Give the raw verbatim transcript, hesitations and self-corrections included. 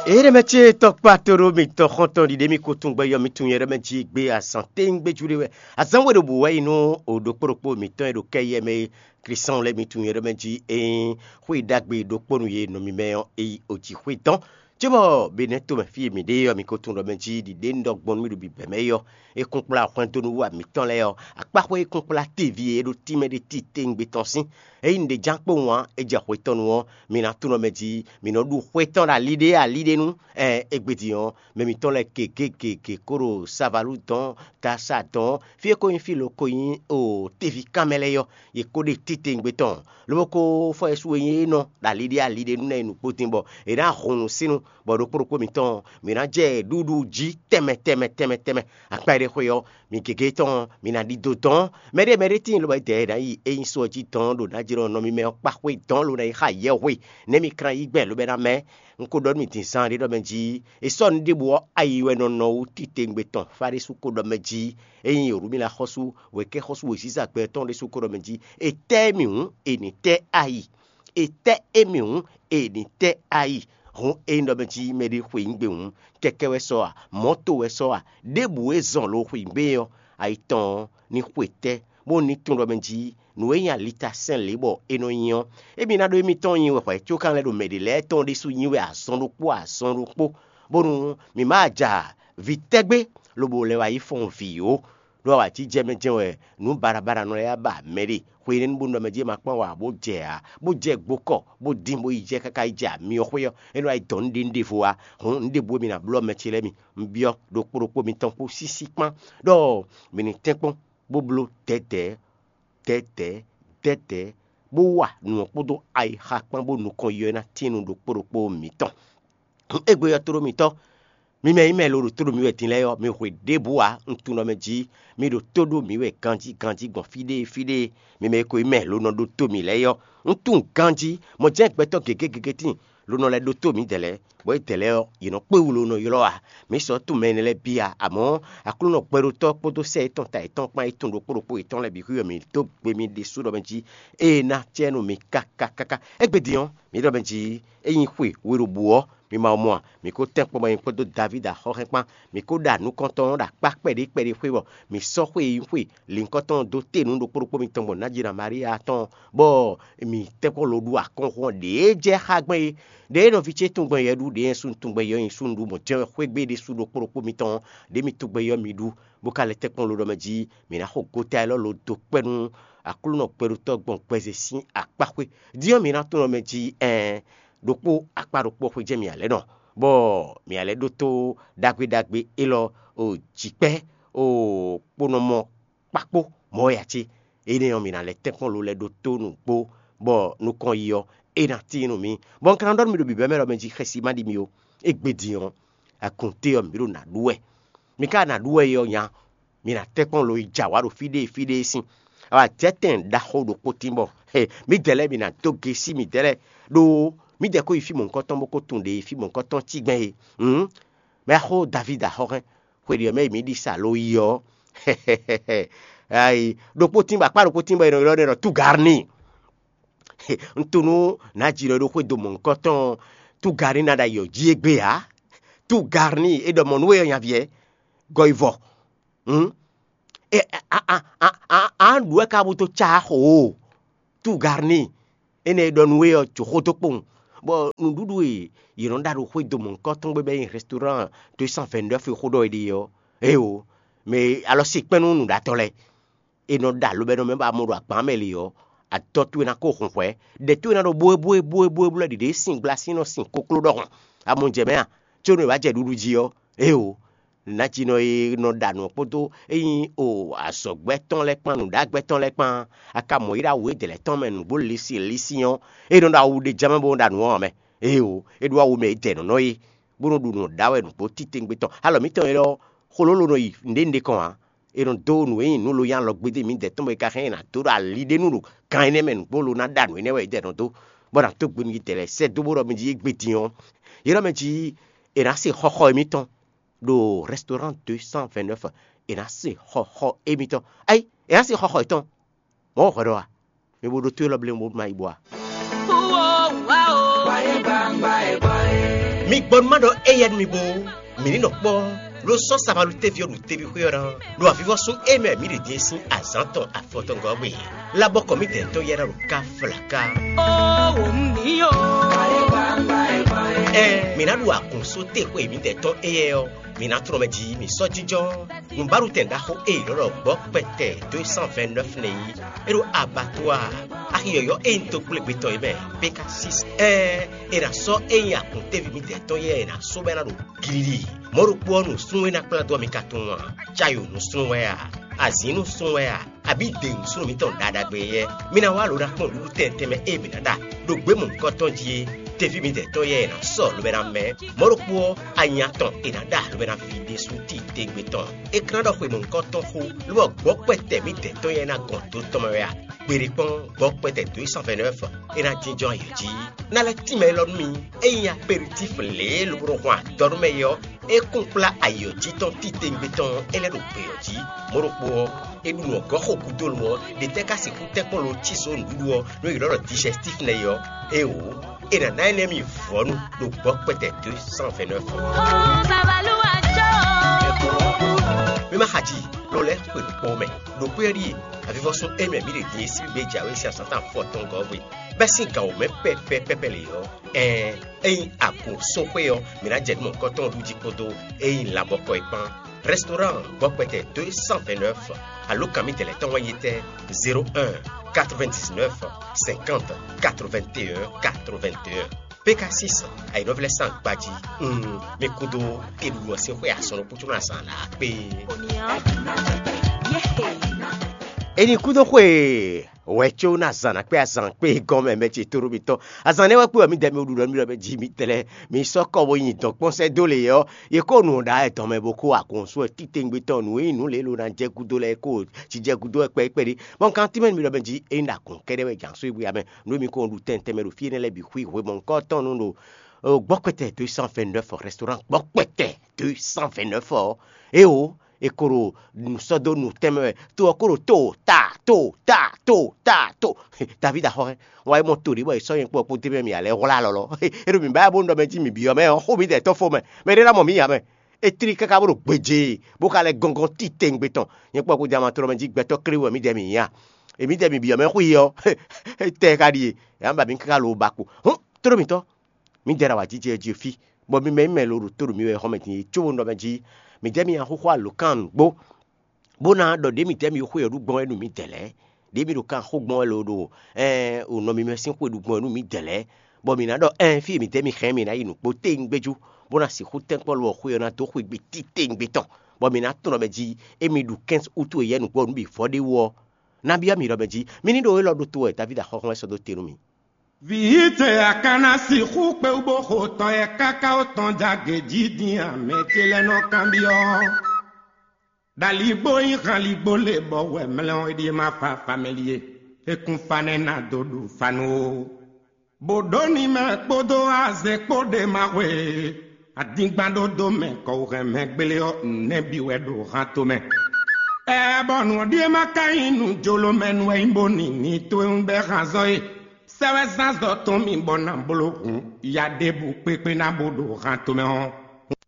Ée ɖɛmɛ ce tɔkpá tóɖó mitɔn xɔ́ntɔn ɖiɖe mì ko tunwun gbɛ yɔ mi tunwun yɛ ɖɛmɛ jí gbé azǎn téŋgbéjú ɖé wɛ. Azǎn we ɖo bǔ wɛ yi nú o ɖokpó ɖokpó mitɔn e ɖo kɛ yɛ mɛ e Klísan lɛ́ɛ mi tunwun yɛ ɖɛmɛ jí ényí xwé ɖagbe ɖokpó nu ye nɔ mi mɛ ɔ́, é yi o jǐxwé dɔn. Cóbɔ Benɛ́ tomɛ fí e mǐ ɖe ɔ́, mi ko tunwun ɖɔ mɛ jí ɖiɖe un ɖɔ gbɔn nú mì ɖo bǐbɛ́ mɛ é ɔ́, é kún kplá hwɛndo nú wa mǐtɔn lɛ́ɛ ɔ́, akpáxwé é kún kplá teví e é ɖo tínmɛ ɖé titewungbe tɔn sín. Ényí un ɖe ján kpowun ǎ, é jɛ xwé tɔn nu ɔ́, mi ná tunwun mɛ jí mi nɔ ɖu xwé tɔn ɖo ali ɖé ali ɖé nu. Ɛɛ, égbé din ɔ́, mɛ mitɔn lɛ́ɛ gěgé gěgé kó ɖo savalú dɔn, tasa dɔn, fí e ko nyí fí lo ko nyí o teví kanmɛ lɛ́ɛ ɔ́, yě ko ɖe titewungbe tɔn, lobo ko fɔ yɛsu e nyí é nɔ ɖo ali ɖé ali ɖé nu ná yi nǔgbó din bɔ è nǎ hun nǔsínu, bɔ ɖokpó ɖokpó mitɔn mǐ ná jɛ ɖuɖu jí tɛnmɛ tɛnmɛ tɛnmɛ tɛnmɛ. Akpa e ɖe xwe ɔ́, mi gěgé tɔn mi ná ɖidó dɔn. Mɛɖé mɛɖé tíin lobo dɛ ná yi é nyí sɔ jí dɔn ɖo ná jlɔ́ nɔ mi mɛ ɔ́ kpa xwé dɔn lo ná yi xa yɛhwe, nɛ́ mi klán yí gbɛn lobo ná mɛ. Un ko ɖɔ nú mi din zán ɖé ɖɔ mɛ jí, è sɔ́ nǔ ɖěbǔ ɔ́ ayi wɛ nɔ nɔ wú titewungbe tɔn. Fáɖésú ko ɖɔ mɛ jí, ényí Yerumila xɔ́sú, wěkɛ́xɔ́sú wěziza gbɛ tɔn ɖésú ko ɖɔ mɛ jí, è tɛ́ mì hǔn, è nǐ tɛ́ ayi. È tɛ́ émí hǔn, è nǐ tɛ́ ayi. Hǔn ényí ɖɔ mɛ jí mɛɖé xweyǐgbe hǔn, kɛkɛ́ wɛ sɔ a, mɔ̌to wɛ sɔ a, ɖěbǔ e zɔn lo xweyǐgbe ɔ́, ayi tɔn ɔ́, ní xwe tɛ́, bó ní tunwun ɖɔ mɛ jí nǔ e nyí alita sɛn lě bɔ é nɔ nyí ɔ́, émí ná ɖó émítɔn nyi wɛ hwɛ̌ có kanlɛ́ ɖo mɛ ɖě lɛ́ɛ tɔn ɖésú nyi wɛ azɔn ɖokpó azɔn ɖokpó, bónú mǐ ma ja vǐ tɛ́gbé lobo lɛ́ wá yi fɔ́n vǐ ó. Ɖó awǎjijɛ mɛ jɛ́n wɛ nǔ baɖabaɖanɔ lɛ́ɛ ba mɛ ɖe. Xwe énɛ́ bónú ɖɔ mɛ jí è ma kpán wǎ bó jɛ ǎ, bó jɛ gbokɔ, bó dín bó yi jɛ káká yi jɛ amyɔ xwé ɔ́, é nɔ wá yi dɔn nǔɖé nǔɖévo ǎ. Hǔn nǔɖé bǔ e mi ná blɔ́ mɛ ce lɛ́ɛ mi. Un byɔ́ ɖokpó ɖokpó mitɔn kpó sísí kpán ɖɔ mi ní tɛ́nkpɔ́n bó bló dɛ̌dɛ̌, dɛ̌dɛ̌, dɛ̌dɛ̌, bó wa nǔ ɔ́ kpódó ayixa kpán bó nukɔn yɔ ná tín nú ɖokpó ɖokpó mitɔn. Égbé ɔ́, tlóló mitɔn, mi mɛ e nyí mɛ e lo ɖo tó ɖo mǐ wɛ din lɛ́ɛ ɔ́, mi hwe ɖěbǔ ǎ. Un tunwun ɖɔ mɛ jí mi ɖo tó ɖó mǐ wɛ ganjí ganjí gbɔn fí ɖé fí ɖé. Mi mɛ e ko nyí mɛ lo nɔ ɖótó mǐ lɛ́ɛ ɔ́, un tunwun ganjí mɔ jɛ́n gbɛtɔ́ gěgé gěgé tíin lo nɔ lɛ́ ɖótó mǐdɛɛ lɛ́ɛ, bɔ édɛɛ lɛ́ɛ ɔ́, yě nɔ kpé wú lo nɔ ylɔ́ ǎ. Mǐ sɔ́ tunwun mɛ énɛ́ lɛ́ɛ bǐ ǎ, amɔ̌ Aklúnɔ gbɛɖótɔ́ kpódó sɛ́ yětɔn ta yětɔn kpán e tunwun ɖokpó ɖokpó yětɔn lɛ́ɛ bǐ xwí wɛ mǐ dó gbe mì ɖésú ɖɔ mɛ jí ée ná acɛ nú mi káká káká. Égbé din ɔ́, mǐ ɖɔ mɛ jí ényí xwe we ɖo bǔ ɔ́, mi ma mɔ a? Mǐ ko tɛ́nkpɔ́n bɔ nyɛ kpódó Davídi axɔ́hɛ́n kpán, mǐ ko ɖa nukɔntɔn ɔ́ ɖo akpá kpɛɖé kpɛɖé xwé bɔ mǐ sɔ́ xwé e nyí xwe lǐnkɔtɔn ɔ́ dó te nú ɖokpó ɖokpó mitɔn gbɔn Nájina Maria tɔn ɔ́, bɔ mǐ tɛ́nkpɔ́n lo ɖu akɔ́nxún ɔ́ ɖě jɛ xá gbɛn é. Ɖěe nɔví ce tunwun gbɛn yɛ ɖu, ɖěe súnnu tunwun gbɛn yɛ nyi súnnu ɖu, mɔ̌ jɛ́n wɛ xwé gbe ɖésú ɖokpó ɖokpó mitɔn ɔ́, ɖě mi tunwun gbɛn yɔ mi ɖu, bó ka lɛ́ tɛ́nkpɔ́n lo ɖɔ mɛ jí mǐ ná xo gota élɔ́ lo dó kpɛ́ nú Aklúnɔ gbɛɖótɔ́ gbɔn gbɛzɛ sín akpá xwé. Din ɔ́, mǐ ná tunwun mɛ jí ɛɛn ɖokpó akpá ɖokpó xwé jɛ́n mǐ ǎ lɛ́ nɔ, bɔ mǐ ǎ lɛ́ ɖótó ɖagbe ɖagbe élɔ́ o jǐkpɛ́ o kponɔmɔ kpákpó mɔ̌ wɛ ǎ cé? Énɛ́ ɔ́, mǐ ná lɛ́ tɛ́nkpɔ́n lo lɛ́ ɖótó nǔgbó, bɔ nukɔn yi ɔ́, é ná tíin nú mǐ. Bɔ un ka ná ɖɔ nú mi ɖo bǐbɛ́ mɛ ɖɔ mɛ jí xɛsi ma ɖi mi ó. Égbé din ɔ́, agunté ɔ́, mǐ ɖo nǎ ɖu wɛ. Mi ka ná ɖu wɛ é ɔ́ nya, mi ná tɛ́nkpɔ́n lo yi jɛ awǎ ɖo fí ɖé fí ɖé sín. Awǎjɛtɛn ɖaxó ɖokpó tín bɔ mǐdɛɛ lɛ́ɛ mi ná dó gesí mǐdɛɛ lɛ́ɛ, ɖó mǐdɛɛ ko yi fí mɔ̌hunkɔtɔn bó ko tunwun ɖě e fí mɔ̌hunkɔtɔn cí gbɛn é. Hǔn, mɛ axó Davídi axɔ́hɛn, xwe ɖě ɔ́ mɛ e mǐ ɖi sa lo yi ɔ́, ayi ɖokpó tín bɔ akpá ɖokpó tín bɔ è nɔ ylɔ́ ɖɛ ɖɔ Tugarni. Un tunú nǎ ji ɖɔ é ɖo xwédo mɔ̌hunkɔtɔn Tugarni ná ɖo ayǐ ɔ́ jí égbé ǎ. Tugarni é ɖɔ mɔ̌ nú we ɔ́ nyaví ɛ, gɔyivɔ. Hǔn, a ɖu wɛ ka bú dó cá xo o. Tugarni énɛ́ e ɖɔ nú we ɔ́, jǒ xó dó kpowun, bɔ nǔɖuɖu e yě nɔ ɖa ɖo xwédo mɔ̌hunkɔtɔn gbé bɔ é nyí restaurant deux cent vingt-neuf e xó ɖɔ è ɖe ɔ́, éeǒ, mɛ e alɔ se kpɛ́n nú nǔɖatɔ́ lɛ́ɛ. È nɔ ɖa lobɛ́nɔ mɛ bɔ a mɔ ɖo agban mɛ lě ɔ́, adɔ towe ná ko hun hwɛ̌. Ɖɛ towe ná ɖo bóebóebóebóebó lɛ́ɛ ɖiɖe sín gbla sín nɔ sin kokló ɖɔhun. A mɔ jɛ mɛ a? Có nú è wǎ jɛ ɖuɖu jí ɔ́, éeǒ, nǎjínɔ e nɔ ɖa nǔ ɔ́ kpódó e nyí o azɔ̌gbɛ́ tɔn lɛ́ɛ kpán nǔɖagbɛ́ tɔn lɛ́ɛ kpán, a ka mɔ yi ɖo awu édɛɛ lɛ́ɛ tɔn mɛ nǔgbó lisi lisi ɔ́, é nɔ ɖo awu ɖé ján mɛ bó nɔ ɖa nǔ ɔ́ ǎ mɛ. Éeǒ, é ɖó awu mɛ e dɛ nɔ̌ nɔ é, bó nɔ ɖu nǔ ɖa wɛ nǔgbó titewungbe tɔn. Alɔ mǐtɔn élɔ́, xolólo nɔ yi nǔɖé nǔɖé kɔn ǎ. È nɔ dó nǔ e nyí nǔ lo nyi alɔ gbédé mǐdɛɛ tɔn bɔ è ka hɛn ɛ ná dó ɖo ali ɖé nu ɖo gan énɛ́ mɛ nǔgbó lo ná ɖa nǔ énɛ́ wɛ è dɛ nɔ dó, bɔ è nǎ dó gbe nú yědɛɛ lɛ́ɛ sɛ́ dó bó ɖɔ mɛ jí égbé din ɔ́, yě ɖɔ mɛ jí è nǎ se xɔxɔ émítɔn ɖo restaurant deux cent vingt-neuf, è nǎ se xɔxɔ émítɔn. Ayi, è nǎ se xɔxɔ yětɔn. Mɔ̌ hwɛ ɖɔ a? Mi bo ɖótó élɔ́ blé bó ma yi bo a? Mi gbɔ nú má ɖɔ éyɛ́ nú mi bó, mǐ ní nɔ kpɔ́, ló sɔ́ sabalú téví ɔ́ ɖo teví xwé ɔ́ ná, ɖo avivɔ́sún e mɛ mǐ ɖe din é sín azǎn tɔn afɔtɔngɔ́ gbe. Labɔkɔ mǐdɛɛ tɔn yɛ́ ná ɖo ká flaká. Ó wǒ mǐ ó. Ɛn, mǐ ná ɖu agun só te xwe mǐdɛɛ tɔn éyɛ́ ɔ́, mǐ ná tlɔ́n mɛ jí mǐ sɔ́ jínjɔ́n. Nǔbáɖutɛn ɖaxó e è nɔ ɖɔ gbɔ̌ kpɛtɛ deux cent vingt-neuf nɛ́ yí, é ɖo abattoir, axi yɔ̌yɔ́ e nyí dó gblé gbetɔ́ é mɛ, P K six. Ɛn, è nǎ sɔ́ e nyí akɔntéví mǐdɛɛ tɔn yɛ́ è nǎ sɔ́ bɔ é ná ɖo glili. Mɔ̌ ɖokpó ɔ́, nǔsúnnú e ná kplá dó ɔ́, mi ka tunwun a? Cayo nǔsúnnú wɛ a? Azǐn nǔsúnnú wɛ a? Abǐ de nǔsúnnú mǐtɔn ɖaɖagbe yɛ́? Mi ná wá lo ná kpɔ́n nǔɖuɖu tɛntɛn mɛ e mǐ ná ɖa ɖo gbě mɔ̌hunkɔtɔn jí é. Teví mǐdɛɛ tɔn yɛ́ è nǎ sɔ́ lobo ná mɛ. Mɔ̌ ɖokpó ɔ́, anya tɔn è nǎ ɖa lobo ná ví ɖésú titewungbe tɔn. É ka ná ɖɔ xwe mɔ̌hunkɔtɔn xó, lobɔ gbɔ̌ kpɛtɛ mǐdɛɛ tɔn yɛ́ ná gɔn do tɔn mɛ wɛ a? Gbeɖé kpɔ́n, gbɔ̌ kpɛtɛ dǒ yi cent vingt-neuf è nǎ jínjɔ́n ayǐ jí. Ná lɛ́ tínmɛ élɔ́ nú mi. Ényí aperitif lě e lobo nɔ hwan adɔ nú mɛ é ɔ́, é kún kplá ayǐ ɔ́ jí tɔn titewungbe tɔn ɔ́, é lɛ́ ɖo gbě ɔ́ jí. Mɔ̌ ɖokpó ɔ́, è ɖu nǔ ɔ́ gɔ́ xo gúdo lo ɔ́, ɖě tɛ́ ka sixú tɛ́nkpɔ́n lo cí zǒ nǔɖuɖu ɔ́, nú è nɔ ɖɔ dijɛstíf nɛ́ é ɔ́? Éeǒ, è nǎ ná énɛ́ mi vɔ̌nu ɖo gbɔ̌ kpɛtɛ deux cent vingt-neuf. Mi ma xa ji, lo lɛ́ xwe ɖo kpɔ́ mɛ. Ɖo xwé ɔ́ ɖíe, avivɔ́sún e mɛ mǐ ɖe din e sín gbé jǎwe sín azǎn tɔn afɔtɔngɔ́ hwe, bɛ́ sín gǎn wǒ mɛ pɛ́pɛ́pɛ́pɛ́ lě ɔ́, ɛɛn, ényí agun sɔ́ xwé ɔ́, mǐ ná jɛ nǔ mɔ̌hunkɔtɔn ɖu jí kpódó ényí labɔkɔ é kpán. Restaurant gbɔ́kpɛtɛ deux cent vingt-neuf, alǒkan mǐtɛn lɛ́ɛ tɔn wɛ nyí tɛ́? Zéro un, quatre-vingt-dix-neuf, cinquante, quatre-vingt-un, quatre-vingt-un. P K six, ayǐnɔ́ví lɛ́ɛ sín agbají. Mm, mi kúdó keɖuɖu ɔ́ sín xwé azɔn ɖokpó có ná zǎn lǎ kpé. Eni kúdó xwe wɛ có ná zǎn ná kpé azǎn kpé gɔ́n mɛ mɛ ce tóɖó mitɔn. Azǎn nɛ́ wɛ kpé wɛ mǐdɛɛ mi ɖu ɖɔ nú mì ɖɔ mɛ jí mi tlɛ mi sɔ́ kɔ bó nyi dɔ̌nkpɔ́n sɛ́ dó lě ɔ́, yě kó nǔ ɖa wɛ dɔn mɛ bó kó agun sú wɛ titewungbe tɔn nǔ e nyí nǔ lě lo ná jɛ gúdo lɛ́ɛ kó cí jɛ gúdo wɛ kpɛɖé kpɛɖé. Bɔ un ka tímɛ nú mi ɖɔ mɛ jí ényí ɖo agun kɛ́ɖɛ́ wɛ jǎn sú e bú ya mɛ nǔ e mi kó ɖu tɛntɛn mɛ ɖo fí énɛ́ lɛ́ɛ bǐ xwí hwemɔ̌hunkɔtɔn nú ɖo gbɔ́kpɛtɛ deux cent vingt-neuf restaurant gbɔ́kpɛtɛ deux cent vingt-neuf ɔ́, éeǒ, è ko ɖo nǔ sɔ́ dó nǔ tɛnmɛ wɛ, to ɔ́ ko ɖo to ta to ta to ta to. Davídi axɔ́ hɛn, wá yi mɔ to ɖě bɔ è sɔ́ nyɛ kpó ɔ́ kpó d'é mɛ mì alɛ hwlá lɔlɔ. É ɖo mǐ ba bó ɖɔ mɛ jí mǐ byɔ́ mɛ ɔ́, xó mǐdɛɛ tɔn fó mɛ, mɛ ɖé ná mɔ mǐ nya mɛ. É tlí káká bó ɖo gbeje, bó ka lɛ́ gɔ́ngɔ́n titewungbe tɔn. Nyɛ kpó ɔ́ kpó jɛ ama tlɔ́ mɛ jí gbɛtɔ́ klé wɛ mǐdɛɛ mǐ nya. È mǐdɛɛ mǐ byɔ́ mɛ xwí ɔ́, tɛ ka ɖíe, yǎ ba mǐ káká lo ba kpo. Hǔn, tló mǐtɔn, mǐdɛɛ ɖo awǎjijɛ jí fí, bɔ mi mɛ nyí mɛ lo ɖo tó ɖo mi wɛ xɔmɛ din é cóbó nɔ mɛ jí. Mǐdɛɛ mi nyaxóxó alǒkan nǔgbó, bó ná ɖɔ ɖě mǐdɛɛ mi xwe ɔ́ ɖu gbɔn wɛ nú mǐdɛɛ lɛ́ɛ, ɖě mi ɖo kan xó gbɔn wɛ lo ɖo ò nɔ mi mɛ sín xwe ɖu gbɔn wɛ nú mǐdɛɛ lɛ́ɛ, bɔ mǐ ná ɖɔ ɛn fí e mǐdɛɛ mi hɛn mǐ ná yi nǔgbó téŋgbéjú, bó ná sixú tɛ́nkpɔ́ lo ɔ́ xwe ɔ́ ná dó xwegbe títewungbe tɔn, bɔ mǐ ná tlɔ́n mɛ jí. Émi ɖu quinze août e yɛ́ nǔgbó ɔ́ nú bǐ vɔ ɖé wú ɔ́, nabí ɔ́ mi ɖɔ mɛ jí, mi ní ɖo élɔ́ ɖótó wɛ Davídi axɔ́xɔ́ wɛ sɔ́ dó te nú mi. Vǐ ce a ka ná sixú kpé wú bó xo tɔ e káká ó tɔn jagě jí din a? Mɛ ce lɛ́ɛ nɔ kanbyɔ́. Ɖaligbó nyí hanligbó lě bɔ wɛ mlɛ́ ɔ́ é ɖíe ma fa famɛli e é kún fa nɛ́ ná dó ɖu fa nú ó. Bǒ ɖó ní mɛ kpódó azɛ kpó ɖe ma xwe. Adingban ɖó dó mɛ kɔwuhɛn mɛ gblé ɔ́, nɛ́ bǐ wɛ ɖo han tomɛ. Ɛ bɔ nǔ ɔ́ ɖíe ma ka nyí nǔ jló mɛ nú wɛ nyí bó nǐ ní towe bɛ́ han zɔ́ é. Sɛ́ wɛ zán zɔ tɔn mì bɔ ná bló hǔn ya ɖěbǔ kpékpé ná bó ɖo han tomɛ ɔ́.